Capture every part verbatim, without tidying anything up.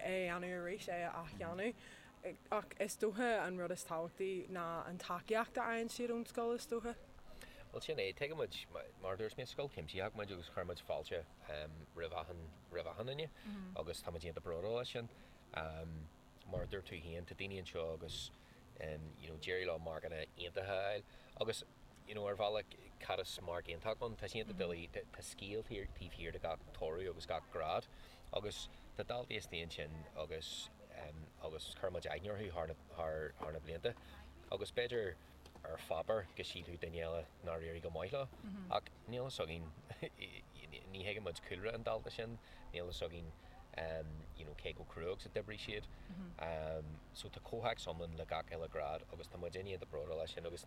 é a dhéanamh arís é a athdhéanamh. Ach is dócha an rud is tábhachtaí ná an tacaíocht a fhaigheann siad ón scoil is dócha. Well sin é tuigimid mar dúirt mé scoil chuimsitheach muid agus chuir muid fáilte roimh achan roimh achan duine agus tá muid iontach bródúil as sin. Mar a dúirt tú féin tá daoine anseo agus you know d'éirigh leo marcanna iontacha a fháil agus you know ar bhealach cad is marc iontach ann tá sé iontach doiligh tá scéal taobh thiar de gach toradh agus gach grád agus tá daltaí istigh ansin agus agus chuir muid aithne orthu thar na thar thar na blianta agus b'fhéidir ar pháipéar go sílfeadh duine eile nár éirigh go maith leo ach níl a fhios againn ní thuigeann muid cúlra an dalta sin níl a fhios againn you know cé chomh crua agus a d'oibrigh siad. So tá comhthéacs iomlán le gach uile grád agus tá muid iontach bródúil as sin agus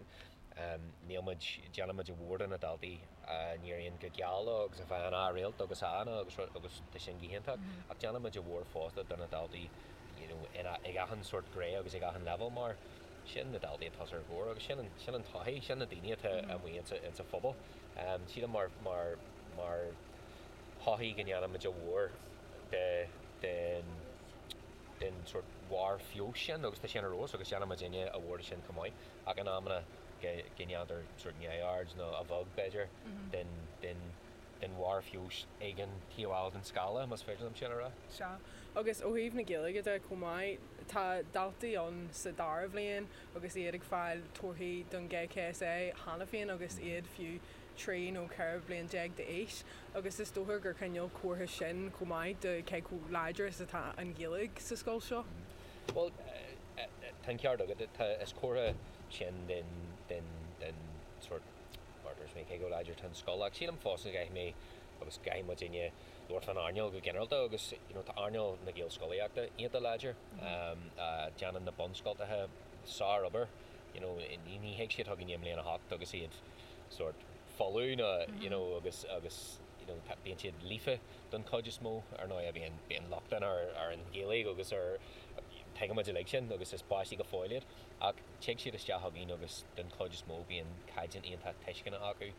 níl muid, déanann muid a mhór de na daltaí a n-éiríonn go geal leo agus a bhfaigheann A réalt agus A-anna agus rud agus tá sin go hiontach ach déanann muid a mhór fosta de na daltaí you know in ag achan sórt gné agus ag achan leibhéal mar sin na daltaí atá os ár gcomhair agus sin an sin an todhchaí, sin na daoine atá amuigh insa insa phobal. Sílim mar mar mar shochaí go ndéanann muid a mhór de den den sórt bharr feabhais sin agus tá sin ar fheabhas agus déanann muidinne a mhór de sin chomh maith ach in amanna go go ndéantar sórt neamhaird nó a bheag b'fhéidir den den den bharr feabhais ag an taobh eile den scála más féidir liom sin a rá. Sea. Agus ó thaobh na Gaeilge de chomh maith, tá daltaí ann sa dara bhliain agus iad ag fáil torthaí don GCSE cheana féin agus iad fiú trí nó ceithre bliana déag d'aois agus is dócha gur cineál comhartha sin chomh maith de cé chomh láidir is atá an Ghaeilge sa scoil seo. Bhuel, tá an ceart agat. Tá, is comhartha sin den, den, den sórt, mar a dúirt mé, cé chomh láidir atá an scoil. Ach sílim fosta go gcaithfidh mé agus go gcaithfidh muidinne labhairt fán earnáil go ginearálta agus, you know, tá earnáil na Gaelscolaíochta iontach láidir. Déanann na bunscoltacha sár-obair, you know, ní, ní thig siad chugainn i mbliain a hocht agus iad sórt folamh nó you know agus agus you know bíonn siad líofa don chuid is mó ar ndóigh bíonn bíonn locht ann ar ar an Ghaeilge agus ar tuigeann muid uilig sin agus is páistí go fóill iad ach tig siad isteach chugainn agus don chuid is mó bíonn caighdeán iontach tuisceana acu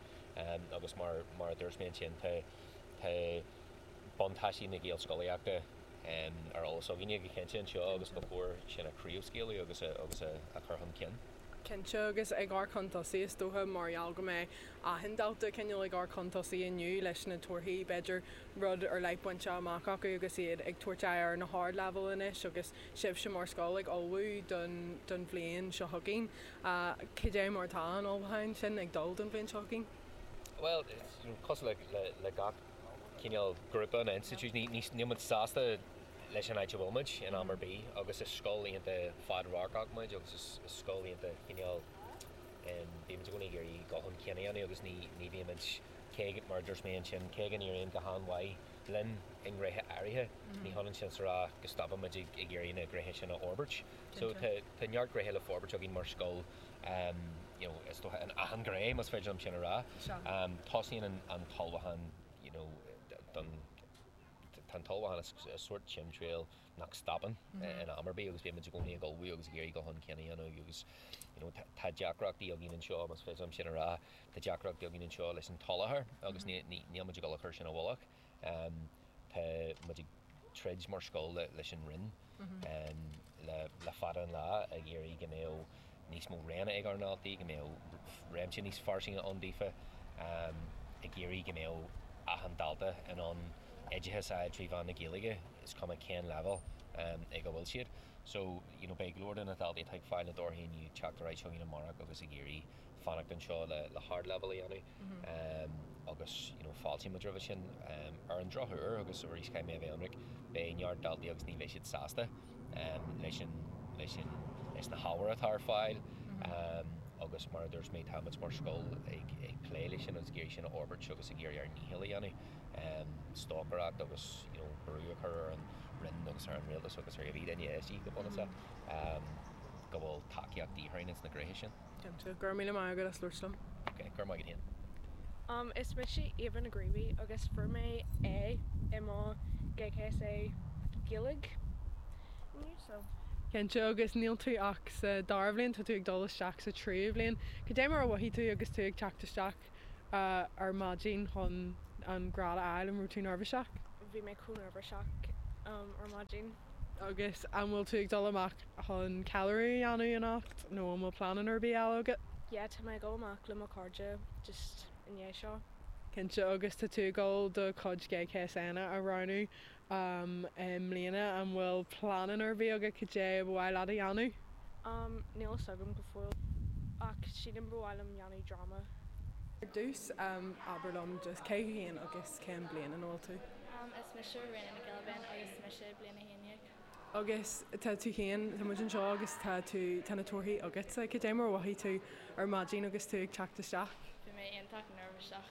agus mar mar a dúirt mé ansin tá tá buntáistí na Gaelscolaíochta ar eolas againne go cinnte anseo agus ba chóir sin a chraobhscaoileadh agus a agus a a chur chun cinn. Cinnte, agus ag amharc chun tosaigh is dócha mar gheall go mbeidh achan dalta cineál ag amharc chun tosaigh inniu leis na torthaí, b'fhéidir rud ar leith bainte amach acu agus iad ag tabhairt aghaidh ar na hardleibhéil anois agus sibhse mar scoil ag ullmhú don don bhliain seo chugainn. Cad é mar atá an ullmhúchán sin ag dul don bhliain seo chugainn? Bhuel, cosúil le le gach cineál grúpa nó institiúid, ní ní níl muid sásta leis an áit a bhfuil muid in am ar bith agus is scoil iontach fadradharcach muid agus is is scoil iontach cineál bímid i gcónaí ag iarraidh dul chun cinn a dhéanamh agus ní ní bhímid cé mar a dúirt mé ansin cé go n-éiríonn go han-mhaith linn i ngnéithe áirithe ní hionann sin is a rá go stopann muid ag ag iarraidh na gnéithe sin a fhorbairt. So tá tá neart gnéithe le forbairt againn mar scoil you know is dócha in achan ghné más féidir liom sin a rá. Tosaíonn an an t-ullmhúchán you know don tá an t-ullmhúchán is sórt timthriall nach stopann in am ar bith agus bíonn muid i gcónaí ag ullmhú agus ag iarraidh dul chun cinn a dhéanamh agus you know tá deacrachtaí againn anseo más féidir liom sin a rá tá deacrachtaí againn anseo leis an tsoláthar agus ní ní níl muid ag dul a chur sin i bhfolach. Tá muid ag troid mar scoil leis an Roinn le le fada an lá ag iarraidh go mbeadh níos mó roghanna ag ár ndaltaí, go mbeadh réimse níos fairsinge ann daofa, ag iarraidh go mbeadh achan dalta in ann oideachas a fháil trí mheán na Gaeilge, is cuma cén leibhéal ag a bhfuil siad. So, you know, beidh go leor de na daltaí atá ag fáil na dtorthaí inniu ag teacht ar aghaidh chugainn amárach agus ag iarraidh fanacht anseo le le hardleibhéal a dhéanamh agus, you know, fáiltíonn muid roimhe sin. Ar an drochuair, agus arís caithfidh mé a bheith ionraic, beidh neart daltaí agus ní bheidh siad sásta leis an leis an leis na hábhair atá ar fáil agus mar a dúirt mé tá muid mar scoil ag ag plé leis sin agus ag iarraidh sin a fhorbairt agus ag iarraidh ár ndícheall a dhéanamh stocaireacht agus you know brú a chur ar an Roinn agus ar an Rialtas agus ar cibé duine is go bunúsach go bhfuil tacaíocht de dhíth orainn ins na gnéithe sin. Cinnte. Go raibh míle maith agat as labhairt liom. Ok, go raibh maith agat féin. Um, is mise Éabha Ní Ghríobhaigh agus fuair mé A i mo GCSE Gaeilge inniu so. Cinnte, agus níl tú ach sa dara bhliain, tá tú ag dul isteach sa tríú bhliain. Cad é mar a mhothaigh tú agus tú ag teacht isteach ar maidin chun an grád a fháil, an raibh tú neirbhíseach? Bhí mé chomh neirbhíseach um, ar maidin Agus an bhfuil tú ag dul amach chun ceiliúradh a dhéanamh anocht nó an bhfuil plean ar bith eile agat? Yeah, tá mé ag dul amach le mo chairde just i ndiaidh seo. Cinnte agus tá tú ag dul do chuid GCSEanna a roghnú um, i mbliana an bhfuil plean ar bith agat cad é ba mhaith leat a dhéanamh? Um, níl a fhios agam go fóill ach sílim ba mhaith liom dhéanamh dráma. Ar dtús um, abair liom just cé thú féin agus cén bliain ina bhfuil tú. Um, is mise Réna Nic Gilbin agus mise bliain a haon déag. Agus tá tú féin tá muid anseo agus tá tú tá na torthaí agatsa cad é mar a mhothaigh tú ar maidin agus tú ag teacht isteach. Bhí mé iontach neirbhíseach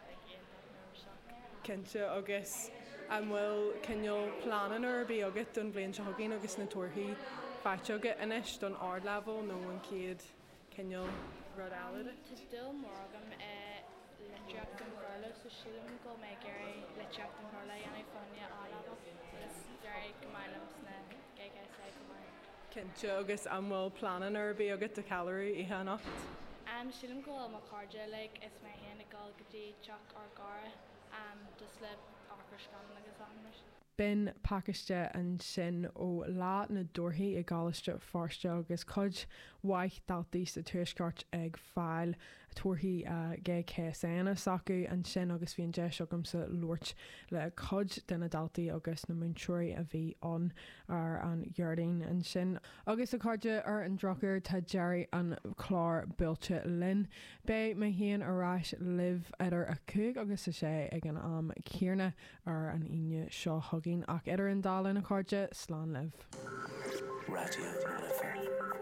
like, iontach neirbhíseach. Cinnte agus an bhfuil cineál plean ar bith agat don bhliain seo chugainn agus na torthaí faighte agat anois don ardleibhéal nó an chéad cineál rud eile duit? Tá dúil mór agam i litríocht an Bhéarla so sílim go mbeidh ag iarraidh litríocht an Bhéarla a dhéanamh fá choinne A-level agus d'éirigh go maith liom sna GCSE go maith. Cinnte agus an bhfuil plean ar bith agat do cheiliúradh oíche anocht? Um, sílim go bhfuil mo chairde like, is mé féin ag dul go dtí teach ár gcara um, just le amharc ar scannán agus achan rud. B'in pacáiste ansin ó lá na dtorthaí i gColáiste Feirste agus cuid mhaith daltaí sa tuaisceart ag fáil torthaí uh, GCSEanna s'acu ansin agus bhí an deis agamsa labhairt le cuid de na daltaí agus na múinteoirí a bhí ann ar an Déardaoin ansin. Agus a chairde ar an drochuair tá deireadh an chlár buailte linn. Beidh mé féin ar ais libh idir a cúig agus a sé ag an am céanna ar an Aoine seo chugainn ach idir an dá linn a chairde slán libh. Raidió na Life.